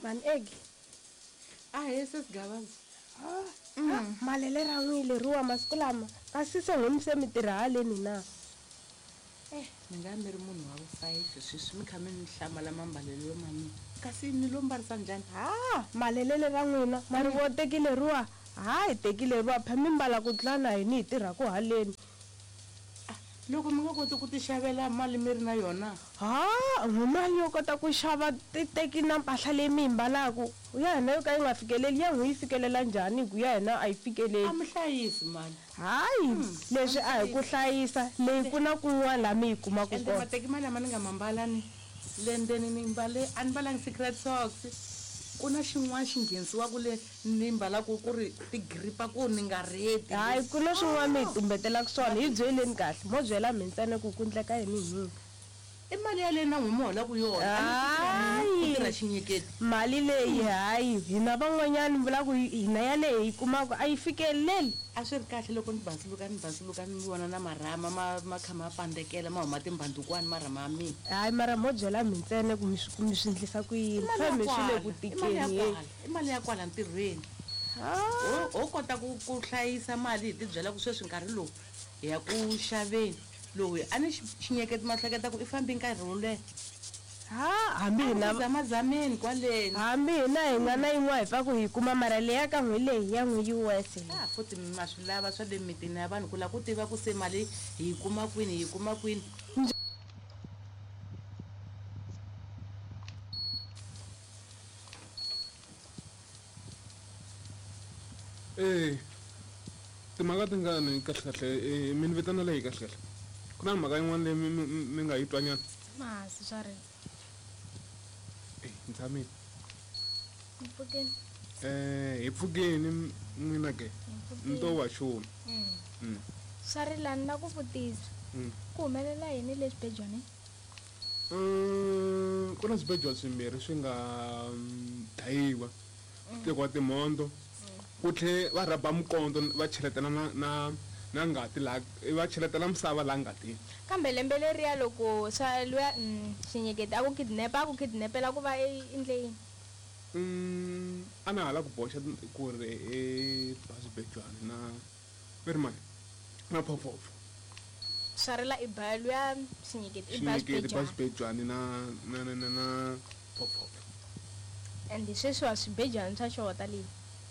Mani egi. Ahee sesi Gavaza. Malele ra n'wi leriwa masiku lama kasi se n'wi se mi tirha haleni na? Eh, mi nga mi ri munhu wa vufayifi sweswi mi kha mi ni hlamala mambalelo ma mina kasi ni lo mbarisa njhani? Ha, malelele ra n'wina ma ri vo teki leriwa ha hi teki leriwa phe mi mbala ku tlula na hini hi tirhaku haleni. Ah, loko mi nga koti ku tixavela mali mi ri na yona? Ha, n'wi mali yo kota ku xava titeki na mpahla leyi mi yi mbalaku ya hina yo ka yi nga fikeleli ya n'wi yi fikelela njhani hi ku ya hina a yi fikeleli. A mi hlayisi mali. Hayi, leswi a hi ku hlayisa, leyi ku na kun'wana laha mi yi kumaka Ende kona. mateki ma lama ni nga ma mbala ni le ndzeni ni mbale a ni mbalangi secret socks ku na xin'wana xi nghenisiwaku le ni mbalaku ku ri ti-grip-a ku ni nga rheti. Hayi, ku na swin'wana mi hi tumbetelaka swona, hi byeleni kahle, mo byela mhe ntsena ku ku ndleka yini hi n'wina. I mali yaleyo na n'wi mi holaku yona. A ni ku tirha mina, ku Hayi. tirha xinyeketi. Mali leyi hayi, hina van'wanyani ni vula ku hina yaleyi hi yi kumaka a yi fikeleli. A swi ri kahle loko ni basuluka ni basuluka ni vona na marhama ma ma kha ma pandzekela ma huma timbhandukwani marhama ya mina. Hayi mara mo byela mhe ntsena ku mi swi ku mi swi ndlisa ku I yini. mali ya Phe mhe swi le kwala, ku i mali ya tikeni heyi. kwala, i mali ya kwala ntirhweni. Ha. Ho ho kota ku ku hlayisa mali hi tibyela ku sweswi nkarhi lowu hi ya ku xaveni. Loyi a ni xinyeketi ma hleketa ku i fambi nkarhi wo leha. Ha, hambi hina. Zamazameni kwaleni. Hambi hina hi nga na yin'wana hi pfaku hi kuma mara leya ka n'wi leyi ya n'wi yi worse leyi. Ha, futhi ma swi lava swa le mitini ya vanhu ku lava ku tiva ku se mali hi yi kuma kwini hi yi kuma kwini. E timhaka tingani kahlekahle e, mi ni vitanela yi kahlekahle ku na mhaka yin'wana leyi mi, mi, mi nga yi twanyana Masi swa ri. e ni tshamile Hi pfukeni. um hi pfukeni n'wina ke Hi ni to pfukeni. wa xuma Mm. Swa ri la ni la ku vutisa. Ku humelela yini le xibejwanini? Um ku na swibejwana swimbirhi swi nga mm, dlayiwa swi tekiwa timhondzo ku tlhe va rhaba mikondzo va cheletela na na na ngati laha va cheletela misava laha ngatini. Kambe lembe leriya loko swa luya mm, xinyeketi a ku kidnap a ku kidnapela ku va i endle yini? Mm, a na ha la ku boxa ku ri i ba swibejwana na ve ri mani na phofofo. Swa rila i ba luya xinyeketi i ba Xinyeketi ba xibejwana. xibejwana na na na na na phofofo. And sweswiwa swibejwana swa xota le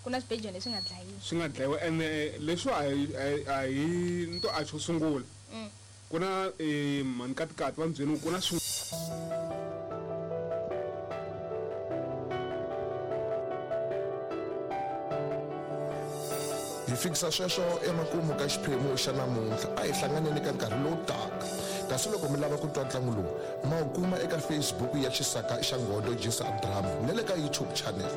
ku na swibejwana leswi nga dlayiwa. Swi nga dlayiwa ene leswiwa a hi a hi a hi ni to a xo sungula. Ku na mhani Katikati va ni byele ku ku na swin. Hi fikisa sweswo emakumu ka xiphemu xa namuntlha. A hi hlanganeni ka nkarhi lowu taka. Kasi loko mi lava ku twa ntlangu lowu, ma wu kuma eka Facebook ya Xisaka xa Nghodo Jisa Drama na le ka YouTube channel.